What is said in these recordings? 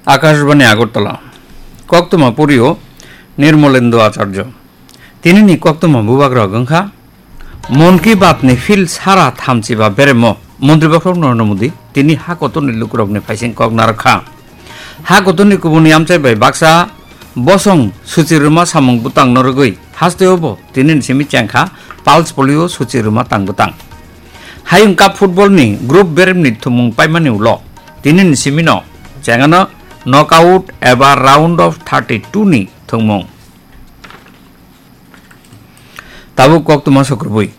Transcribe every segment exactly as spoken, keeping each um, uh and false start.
Akashbani Agartala. Koktwma purio Nirmolendo Acharya. Tinini koktwma bubagrok wngkha Mon Ki Baat ni field sara thamchiba beremo Montri Bokhorok Narendra Modi tini ha kotorni lukurokni phaising kok narwkha. Ha kotorni kubuni amchai bai baksa bosong suchi rwma samung bwtang norogwi hasteo bo tinini simi chengkha pulse polio suchi rwma tang bwtang. Hayung Cup football ni group beremni thumung paimani ulo tinini simino chengano knockout eba round of thirty two ni thwngmung. Tabuk koktwma sokrubui.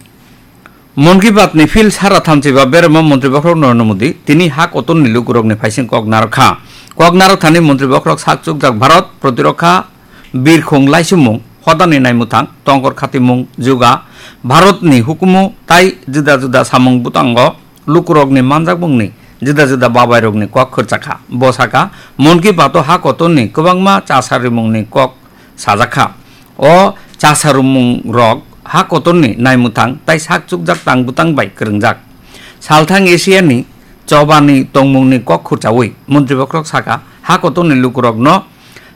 Mon Ki Baat ni field sara thamchiba beremo Montri Bokhorok Narendra Modi tini ha kotorni lukurokni phaising kok narwkha. Kok narwkthani Montri Bokhorok sak chukjak Bharat protirokha birkhung laisumung hodani naimwthang tongkor khatimung juga Bharatni hukumu tai juda juda samung bwtango lukurokni manjakmungni juda juda babairokni kok khurchakha. Bo sakha, Mon Ki Baat-o ha kotorni kwbangma chasa rimungni kok sajakha. O chasa rimung rok ha kotorni naimwthang tai sak chukjak tang bwtang bai kwrwngjak. Salthang Asiani chobani tongmungni kok khurchaui Montri Bokhorok sakha, ha kotorni lukurokno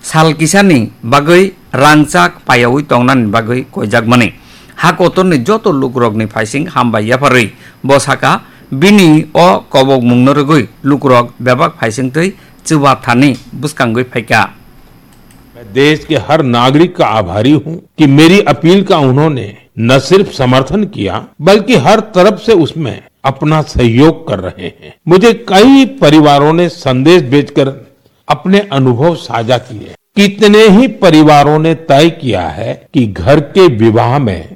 sal kisani bagwi rangchak payaui tongnani bagwi koijakmani. Ha kotorni joto lukurokni phaising hambai yapharwi bo sakha, bini o kobokmungno rwgwi lukurok bebak phaisingtwi chuba thani bwskangwi phaikha. मैं देश के हर नागरिक का आभारी हूं कि मेरी अपील का उन्होंने न सिर्फ समर्थन किया, बल्कि हर तरफ से उसमें अपना सहयोग कर रहे हैं। मुझे कई परिवारों ने संदेश भेजकर अपने अनुभव साझा किए। कितने ही परिवारों ने तय किया है कि घर के विवाह में